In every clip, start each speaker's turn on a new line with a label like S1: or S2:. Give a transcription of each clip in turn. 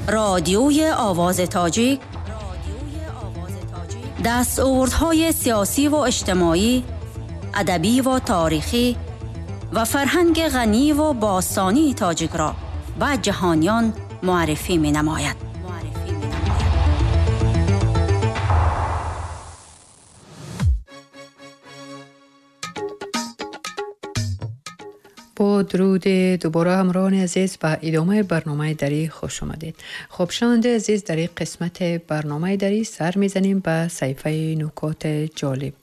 S1: رادیوی آواز تاجیک دستاوردهای سیاسی و اجتماعی، ادبی و تاریخی و فرهنگ غنی و باستانی تاجیک را به جهانیان معرفی می نماید.
S2: با درود دوباره همراهان عزیز به ادامه برنامه دری خوش آمدید. خب شنونده عزیز، در این قسمت برنامه دری سر میزنیم به صفحه نکات جالب.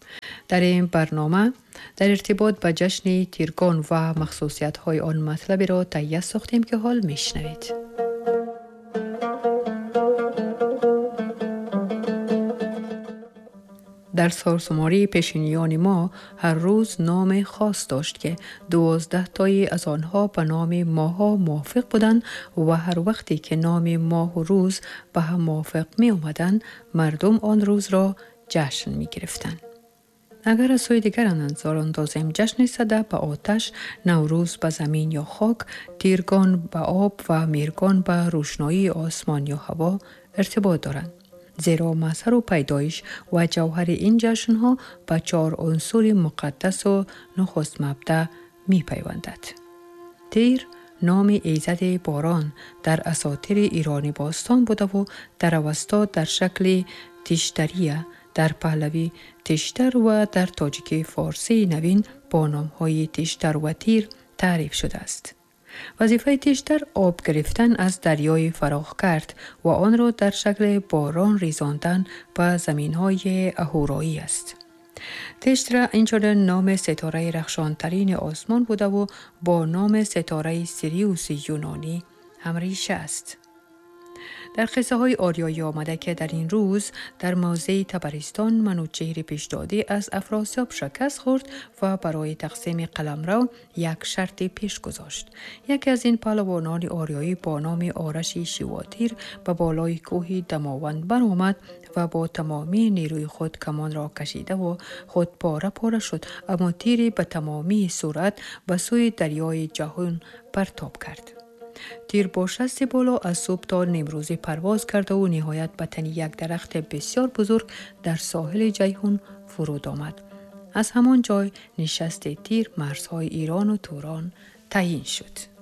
S2: در این برنامه در ارتباط به جشن تیرگان و مخصوصیت های آن مطلبی را تهیه ساختیم که حال میشنوید. در سالشماری پیشینیان ما هر روز نام خاص داشت که 12 تایی از آنها به نام ماها موافق بودند و هر وقتی که نام ماه و روز به هم موافق می آمدند، مردم آن روز را جشن می گرفتند. اگر از سوی دیگر نظر اندازیم، جشن سده به آتش، نوروز به زمین یا خاک، تیرگان به آب و میرگان به روشنایی آسمان یا هوا ارتباط دارند. زیرا مظهر و پیدایش و جوهر این جشنها به 4 عنصر مقدس و نخست مبدأ می پیوندد. تیر نام ایزد باران در اساطیر ایرانی باستان بوده و در اوستا در شکل تیشتریه، در پهلوی تیشتر و در تاجیکی فارسی نوین با نامهای تیشتر و تیر تعریف شده است. وظیفه تیشتر آب گرفتن از دریای فراخ کرد و آن را در شکل باران ریزاندن به زمینهای اهورایی است. تیشتر اینچنین نام ستاره رخشانترین آسمان بوده و با نام ستاره سیریوس یونانی هم ریشه است. در قصه های آریایی آمده که در این روز در موضع تبرستان منوچهر پیشدادی از افراسیاب شکست خورد و برای تقسیم قلمرو یک شرط پیش گذاشت. یکی از این پهلوانان آریایی با نام آرش شیواتیر به بالای کوه دماوند برآمد و با تمامی نیروی خود کمان را کشیده و خود پاره پاره شد، اما تیری به تمامی سرعت به سوی دریای جهان پرتاب کرد. تیر با شست بالا از صبح تا نیمروزی پرواز کرده و نهایت به تن یک درخت بسیار بزرگ در ساحل جیحون فرود آمد. از همان جای نشست تیر مرزهای ایران و توران تعیین شد.